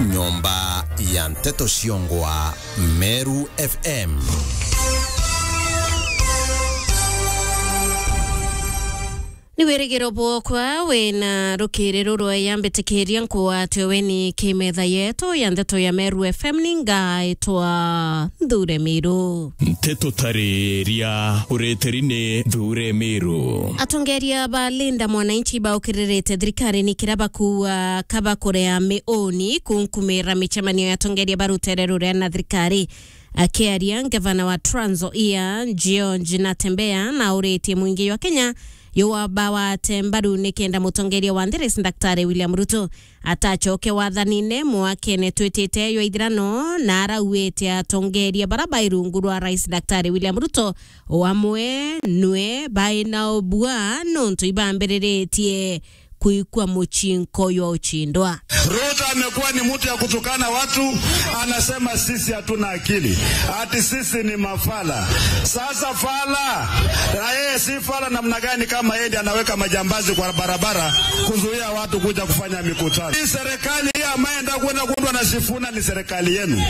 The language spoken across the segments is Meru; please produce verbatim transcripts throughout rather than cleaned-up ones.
Nyomba ya nteto ciongwa Meru F M. Ni wirigiro bwokwa wina rukiri ruru yambitikiria nkwatwe weni kimetha yetu ya nteto ya Meru F M, ningaitwa Nthure Miru. Nteto tariria ureteri ni Nthure Miru. Atongeria ba Linda Mwananchi baukiririte thirikari ni kira bakuua kabakurea miuni kunkumira micemanio ya atongeria ba rutere ruria na thirikari. Akiaria, ngavana wa Trans Nzoia, George Natembeya, nauritie mwingi jwa Kenya jubawate mbaru nikenda mutongeria wa nthi Rais Daktari William Ruto atacoke wathanine mwakene twitite jwa ithirano, na arauite atongeria bara bai rungu rwa Rais Daktari William Ruto o amwe nwe bai na ubua nontu ibambiriritie kuikua mucinko jwa uchindwa. Ruto amekuwa ni mtu ya kutukana watu, anasema sisi hatuna akili, ati sisi ni mafala. Sasa fala, na yeye si fala namna gani kama yeye ndiye anaweka majambazi kwa barabara kuzuia watu kuja kufanya mikutano? Hii serikali hii ambayo ndio kwenda kuundwa na Sifuna ni serikali yenu.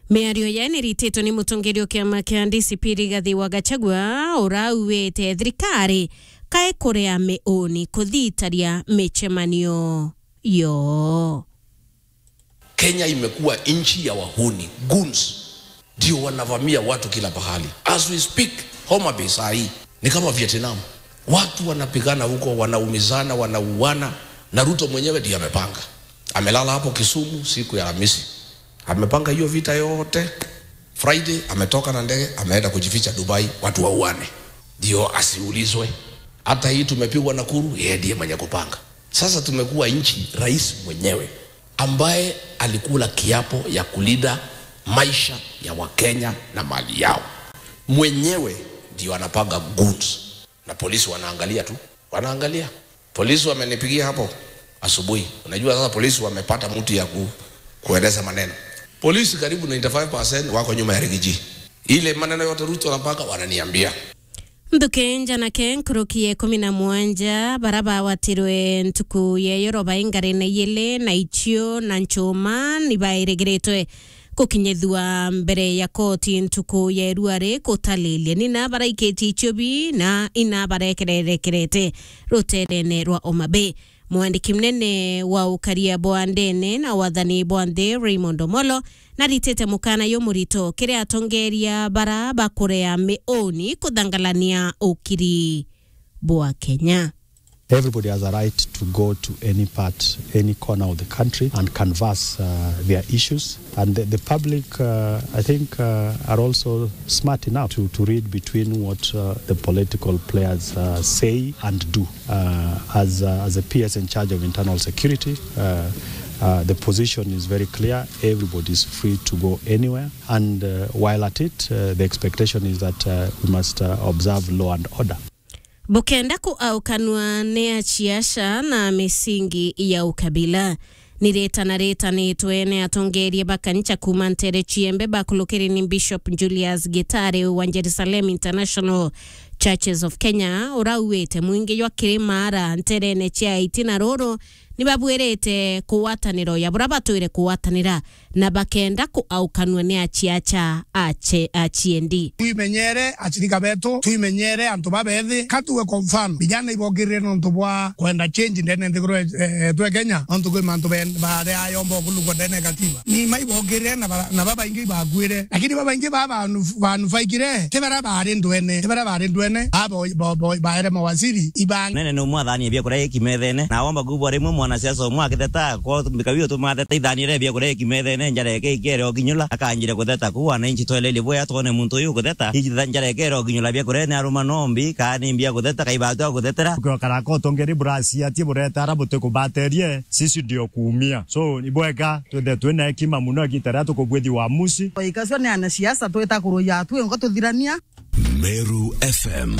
Miario yayo nirititwe ni mutongeria o kiama kia D C P Rigathi wa Gachagua, urauite thirikari kae kurea miuni kuthitaria micemanio yo. Kenya imekuwa nchi ya wahuni, goons. Ndio wanavamia watu kila pahali. As we speak, Homa Bay saa hii ni kama Vietnam. Watu wanapigana huko, wanaumizana, wanauana, na Ruto mwenyewe ndiye amepanga. Amelala hapo Kisumu siku ya Alhamisi. Amepanga hiyo vita yote. Friday ametoka na ndege, ameenda kujificha Dubai, watu wauane. Ndio asiulizwe. Hata hii tumepigwa Nakuru, yeye ndiye mwenye kupanga. Sasa tumekuwa nchi, rais mwenyewe ambaye alikula kiapo ya kulinda maisha ya Wakenya na mali yao, mwenyewe ndio anapanga goons, na polisi wanaangalia tu, wanaangalia. Polisi wamenipigia hapo asubuhi. Unajua sasa polisi wamepata mtu ya ku, kueleza maneno. Polisi karibu ninety-five percent wako nyuma ya Rigiji. Ile maneno yote Ruto anapanga wananiambia. Nthuki njanake nkuruki ya ikumi na mugwanja bara bawatirwe ntuku ya yoroba ingarine yili na icio na nchuma ni bairigiritwe gukinyithua mbere ya koti ntuku ya irua ri gutalilie. Nina baraikitie icio bi na ina barekererekerete ruterene rwa Homa Bay. Mwandiki munene wa ukaria bwa ndene na wathani bwa nthi Raymond Omolo naritite mukana jumurito kiri atongeria bara bakurea miuni kuthangalania ukiri bwa Kenya. Everybody has a right to go to any part, any corner of the country and canvass, uh, their issues. And the, the public, uh, I think, uh, are also smart enough to, to read between what, uh, the political players, uh, say and do. Uh, as, uh, as a P S in charge of internal security, uh, uh, the position is very clear. Everybody is free to go anywhere. And, uh, while at it, uh, the expectation is that, uh, we must, uh, observe law and order. Bukenda kuaukanua ni aciaca na misingi ya ukabila. Ni ritana ritanitwe ni atongeria ba kanisa kuuma ntere ciembe bakulukiri ni Bishop Julius Gitari wa Jerusalem International Churches of Kenya, urauite mwingi jwa Kirimara nterene cia itina ruru ni babwirite kugwatanira uya bura batwire kugwatanira na bakenda kuaukanua ni aciaca ace-, aciendi. Twimenyere acirika betu, twimenyere antu babethi. Ka tuge kwa mfano, vijana ibokirire nontu bwa kwenda change ndene nthiguru ye-, yetu ya Kenya, nontu kwi mantu ben-, baria ayomba okulungwa ndene ya katiba. Ni maibokirire na bara-, na babaingi ibakuire. Lakini babaingi ba banu-, banufaikire, ti bara bari ndwene, ti bara bari ndwene, abo bo-, bo-, baere mawaziri, iba- Nene ni umwe athanie biakuria iki methene, na womba kubwa rimwe mwanasiasa umwe akitheta, ko mbika biu tumatheta ithanire biakuria iki methene, njara eke ikere okinyula, akanjire kutheta ku, wananchi twelelie bwea twone muntu uyu kutheta, iji tha-, njara ikere okinyula biakuria ni aruma nombi, kaa ni mbia kutheta, kai batu akuthetera. Ukiokaraka utongeri burasiatie bureta ara butikubaterie, sisi ndio kuumia. So, ni bwega twithe twina hekima muno igita riria tukubwithi wamusi. Ikasio ni anasiasa twita kuruya twingo tuthirania. Meru F M.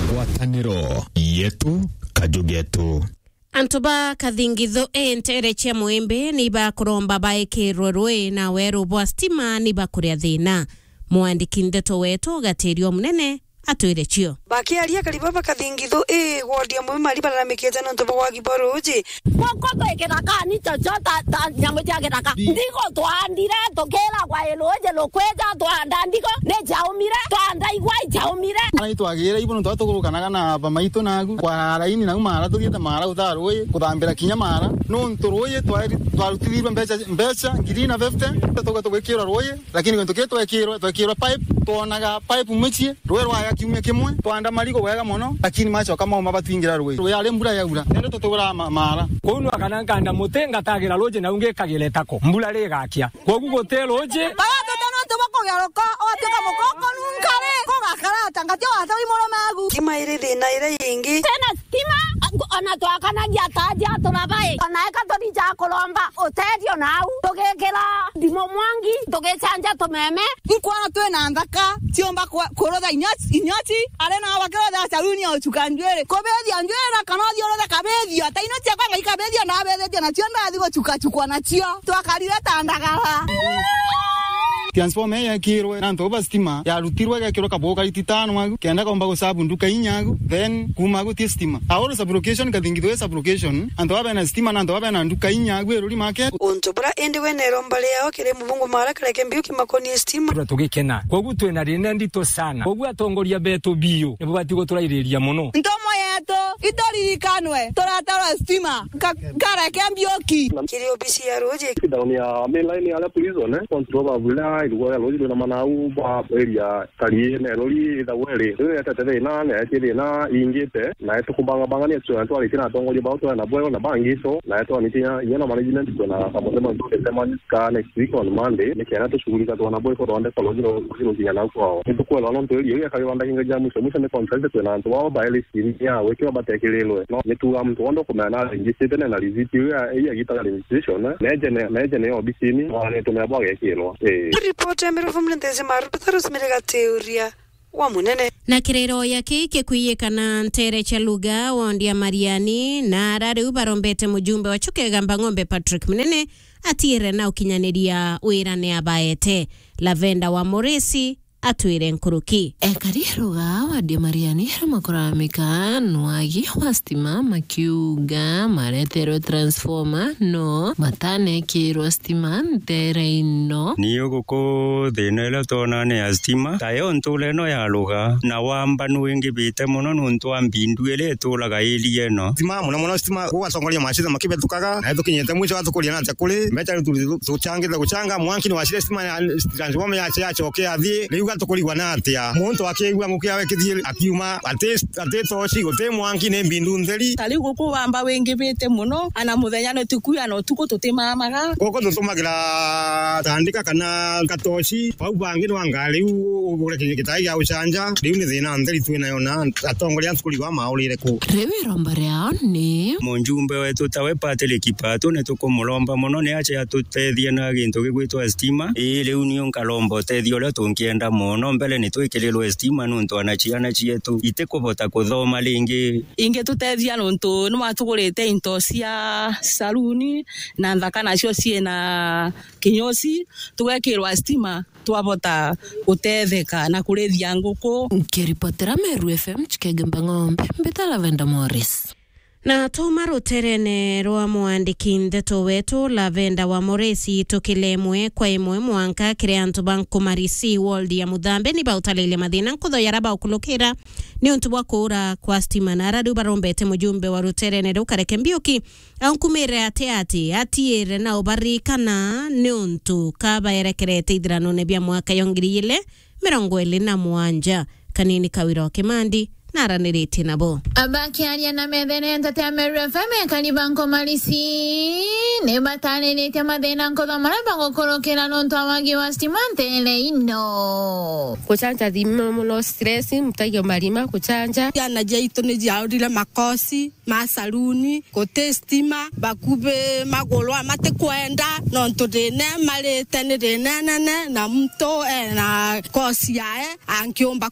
Ngwataniro yetu, kaju getu. Antu ba Kathingithu i ntere cia Mwimbi ni bakuromba baikirwe rui na weru bwa stima ni bakuria thina. Mwandiki ndeto wetu Gatirio Munene atwire cio. Bakiaria, akari baba Kathingithu ii wodi ya Mwimari balalamikite nontu bwa wagi bwa ruuji. Guku twi kithakani, chocho ta, ta nyamu cia githaka. Ndigo twaandire, tukiragwa i ruuji rukwija, twaanda ndigo ni jaumire, twaanda igwa ijaumire. Ara itwagire ibu nontu tugurukanaga na bamaitu nagu kwa raini nau mara, tuthiite mara utaa ruuji, kuthambira kinya mara. Nontu ruuji twari-, twarutithirwe mbeca, mbeca ngiri na fifty, tuga tugwikirwa ruuji. Lakini gintu kii twekirwe, twekirwe pipe, twonaga pipe mucii, ruuji rwaya kiumia kimwe, twaanda marigo bwega mono, lakini macoka mauma batwingira ruuji. Ruuji ari mbura yaura, nende tutugura ma-, mara. Kwou nwakana nkanda muti, ngatagira ruuji nau ngikagira itako, mbura rigakia. Kwogu guti ruuji. Baya tuti nontu bwa kugeruka, ugatuika mukoko nunkari, kugakara ata ngati watawi murume agu. Tima iri thina iria ingi. Tena stima, ona twakanagia ta aja turabai, ona eka tuthi ja kuromba. Utethio nau, tugikira ndimo mwangi, tugicanja tumeme. Inkwona twina nthaka ciumba ku-, kurutha inyoci, inyoci, ari nao bakirutha saluni ya ucuka njuiri. Kubithia njuiri na kana uthi uruthe kabithio, ta ino ciakwa ngai kabithio, nabithitie nacio ndathi gucukacukwa nacio. Twakarire ta ndagara. Transformer ii yekirwe na antu ba stima, yarutirwe igekirwa kabugu kariti tano agu, kenda komba gusabu nduka inya agu, then kuma agu ti stima. Aoro sublocation, Kathingithu ii sublocation, antu baba bena stima na antu baba bena nduka inya agu Iruri market. Untu bura indi we na iromba riao kiri mubungu mara kareke mbiu kimakonie stima. Tugikena. Kwogu twina thina ndito sana. Kwogu atongoria betu biu nibo bati guturairiria mono. Ntomo yetu ituririkanwe, turatarwa stima. Ka-, kareke mbiuki. Kiri obisi ya ruuji. Down ya main line ya la prison, eh. Control ba bula, irugo ya ruuji rwina manau, ba area kari na irori ithagwe ri. Riu yetete thina, na yetie thina, ingite, na itukubangabangania tucwena twaritie na atongoria bao twena bweo na bangi so, na itwanitie inya na management kwina kamuthema ntutete man-, ka next week on Monday, nikenda tucugurika twana bweo ithondeka ruuji ru-, ruuji rukinya nau kwao. Nitukwelwa nontu area iu yakagirwa ndakinga ja mwisho mwisho ni contract kwina antu bao baeli Ini ya gwikirwa batekirirwe. No, nituga muntu wonthe ukumenya na registrate na, na receipt iu ya, iu yagitaga registration, eh, neje ne, neje ne obisini, mwanetwe mea bwagekirwa. Eh. Ripoti ya Miruvu Mrendezi Maru, Petrus Mirigatiuria wa Munene. Na kiriro ya kii kikwiyikana ntere cia Luga, wondi ya Mariani, na ara riu barombete mujumbe wa Chuka Igamba Ng'ombe Patrick Munene atiire na ukinyaniria wira ni abaete. Lavenda wa Moresi, atwire nkuruki. Ekari Ruga wadi ya Mariani aria makuramika nwagi wa stima makiuga mareterwe transformer no matanekirwa stima ntere ino. Ni uguku thina iria twona ni ya stima, tayo ntura ino ya Ruga na wamba nwingibite mono nontu wa mbindu iria ituraga area ino. Stima, mono mono stima, gugatongoria macira makibethukaga, na tukinyite mwisho gatukuria na atia kuri mbeca riu tu-, tucangite gucanga, mwanki ni wacire stima ya transformer yacio yacoke yathii, riu gatukurigwa na atia? Muntu akigua nguki yawe kithii akiuma, ati, ati toci, guti mwanki, ni mbindu ntheri. Ta riu guku wamba wingibite mono, ana muthenya ni tukuya na utuku tutimamaga. Guku tutumagira tandika kana gatoci, bau bangi ni wanga riu ugure kinyi gitai gia gucanja, riu ni thina ntheri twinayo na atongoria tukurigwa maurire ku. Riu iromba riao ni mujumbe wetu tawe Patrick Patu, ni tukumuromba mono ni ache atutethie na gintu gigwitwa stima. Ii, riu niu nkaromba utethio uria tungienda mono. Mbere ni twikirirwe stima nontu ana ciana cietu itikubota kuthoma ringi. Ingitutethia nontu ni watugurite into cia saluni na nthaka nacio ciina kinyosi, tugekirwa stima. Twabota gutetheka na kurithia nguku. Nkiripotera Meru F M Chikenge Mbang'ombe, mbita Lavenda Morris. Na tuma ruterene rwa mwandiki ndeto wetu Lavenda wa Moresi, tukile imwe kwa imwe mwanka kiri antu ba Nkumari C ward ya Muthambe ni bautaririe mathina nkutho yara baukulukira ni untu bwa kuura kwa stima, na ara riu barombete mujumbe wa ruterene ruu Kareke Mbiuki aunkumire ati ati atiire na ubarikana ni untu kabaerekerete ithiranone bia mwaka ya ngiri igiri mirongo iri na mugwanja. Kanini Kawira wa Kimandi naraniritie nabo. Abakiaria na methene ntete ya Meru F M, ekari ba Nkumari C ni batariritie mathina nkutho maria bagukurukira nontu wa wagi wa stima ntere ino. Gucanja thimo mono, stress, mutagia marima, gucanja. Ciana ciaitu ni ciaurire makosi ma saluni, guti stima, bakubi magurwa matikwenda, nontu thina marite ni thina nene, na muntu ena kosi yae angiumba